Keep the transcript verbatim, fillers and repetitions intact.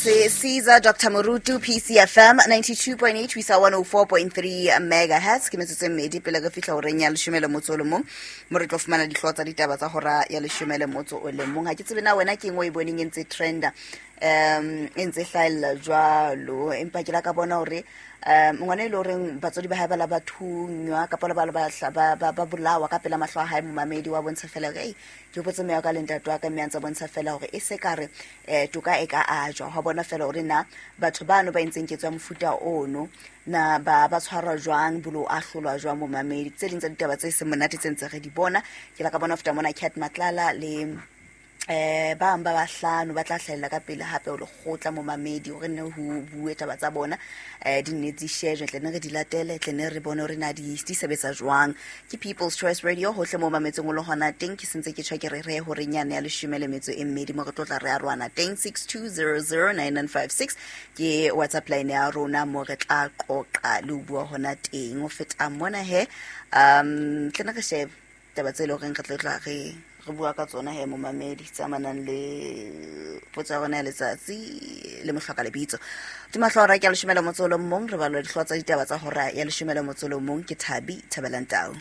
Se Caesar Doctor Morutu, P C F M ninety-two point eight ho isa one oh four point three megahertz. Ke metsotso e mmedi pele re fihla horeng ya leshome le motso o le mong, mo re tlo fumana dihlooho tsa ditaba tsa hora ya leshome le motso o le mong. Ha ke tsebe na wena ke eng o e boneng e ntse trenda, um e ntse hlahella jwalo, empa ke la ka bona hore um ngwana e le horeng batswadi ba hae ba la ba thunywa kapa ba ba ba ba ba bolawa ka pela mahlo a hae. Momamedi wa bontsha fela hore, ei, ke hopotse mme wa ka le ntate wa ka, mme a ntse bontsha fela hore e se ka re um toka e ka ajwa hwa bona fela hore na batho bano ba entseng ketso ya mofuta ono na ba ba tshwarwa jwang, bolo ahlolwa jwang. Momamedi, tse ding tsa ditaba tse seng monate tse ntse re di bona, ke la ka bona ho feta mona Cat Matlala le eh ba bang ba bahlano ba tla hlahella ka pele hape o lekgotla, momamedi, hore nne ho bue taba tsa bona, eh di nne di shejwe, tle ne re di latele, tle ne re bone hore na di di sebetsa jwang. Ke People's Choice Radio hohle mo mametseng o le hona teng. Ke sentse ke tjho ke re re hore nyane ya leshome le metso e mmedi mo re tlo tla re arohana teng. six two zero zero nine nine five six ke WhatsApp line ya rona mo re tla qoqa le ho bua hona teng. Ho feta mona he, um tle ne re shebe taba tse leng horeng re tlo tla re re bua ka tsona he, momamedi, tse amanang le potso ya rona ya letsatsi le mohloka lebitso. Ke mahlo hora ke ya leshome le motso o le mong, re balwa dihlooho tsa ditaba tsa hora ya leshome le motso o le mong ke Thabi Thabelang Tau.